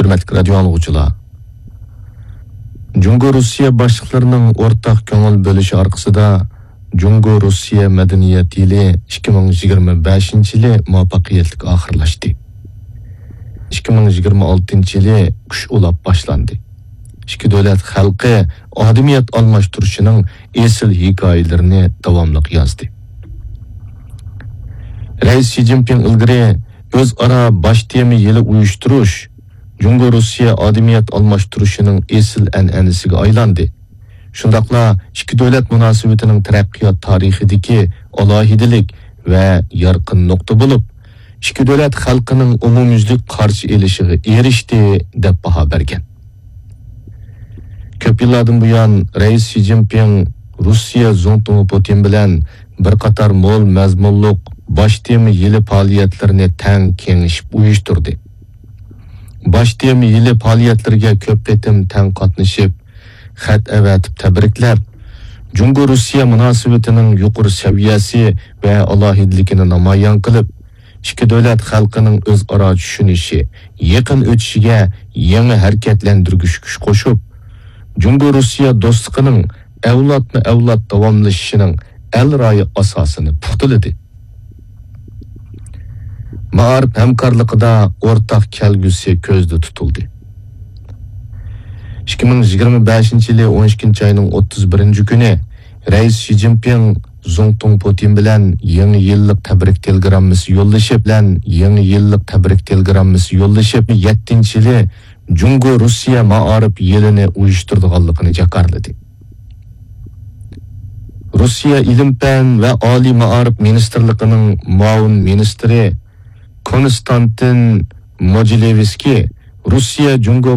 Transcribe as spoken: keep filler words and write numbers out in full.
ھۆرمەتلىك رادىيو ئاڭلىغۇچىلار، جۇڭگو رۇسىيە باشلىقلىرىنىڭ ئورتاق كۆڭۈل بۆلۈشى ئارقىسىدا جۇڭگو رۇسىيە مەدەنىيەت يىلى ئىككى مىڭ يىگىرمە بەشىنچى يىلى مۇۋەپپەقىيەتلىك ئاخىرلاشتى. ئىككى مىڭ يىگىرمە ئالتىنچى يىلى كۈچ ئۇلاپ باشلاندى. ئىككى دۆلەت خەلقى ئادىمىيەت ئالماشتۇرۇشىنىڭ ئېسىل ھېكايىلىرىنى داۋاملىق يازدى. رەئىس شى جىنپىڭ ئىلگىرى ئۆزئارا باش تېما يىلى ئۇيۇشتۇرۇش جۇڭگو رۇسىيە ئادىمىيەت ئالماشتۇرۇشىنىڭ ئېسىل ئەنئەنىسىگە ئايلاندى. شۇنداقلا ئىككى دۆلەت مۇناسىۋىتىنىڭ تەرەققىيات تارىخىدىكى ئالاھىدىلىك ۋە يارقىن نۇقتا بولۇپ، ئىككى دۆلەت خەلقىنىڭ ئومۇميۈزلۈك قارشى ئېلىشىغا ئېرىشتى، دەپ باھا بەرگەن. كۆپ يىللاردىن بۇيان رەئىس شى جىنپىڭ رۇسىيە زۇڭتۇڭى پۇتىن بىلەن بىر قاتار مول مەزمۇنلۇق باش تېما يىلى پائالىيەتلىرىنى تەڭ كېڭىشىپ ئۇيۇشتۇردى. باش تېما يىلى پائالىيەتلىرىگە كۆپ قېتىم تەڭ قاتنىشىپ، خەت ئەۋەتىپ تەبرىكلەپ، جۇڭگو رۇسىيە مۇناسىۋىتىنىڭ يۇقىرى سەۋىيەسى ۋە ئالاھىدىلىكىنى نامايان قىلىپ، ئىككى دۆلەت خەلقىنىڭ ئۆزئارا چۈشىنىشى، يېقىن ئۆتۈشىگە يېڭى ھەرىكەتلەندۈرگۈچ كۈچ قوشۇپ، جۇڭگو رۇسىيە دوستلۇقىنىڭ ئەۋلادمۇ ئەۋلاد داۋاملىشىشىنىڭ ئەل رايى ئاساسىنى پۇختىلىدى. مائارىپ ھەمكارلىقىدا ئورتاق كەلگۈسى كۆزدە تۇتۇلدى. ئىككى مىڭ يىگىرمە بەشىنچى يىلى ئون ئىككىنچى ئاينىڭ ئوتتۇز بىرىنچى كۈنى رەئىس شى جىنپىڭ زۇڭتۇڭ پۇتىن بىلەن يېڭى يىللىق تەبرىك تېلېگراممىسى يوللىشىپ، بىلەن يېڭى يىللىق تەبرىك تېلېگراممىسى يوللىشىپ، يەتتىنچى يىلى جۇڭگو رۇسىيە مائارىپ يىلىنى ئۇيۇشتۇرىدىغانلىقىنى جاكارلىدى. رۇسىيە ئىلىم-پەن ۋە ئالىي مائارىپ مىنىستىرلىقىنىڭ مۇئاۋىن مىنىستىرى كونستانتىن موجىلېۋسكىي رۇسىيە جۇڭگو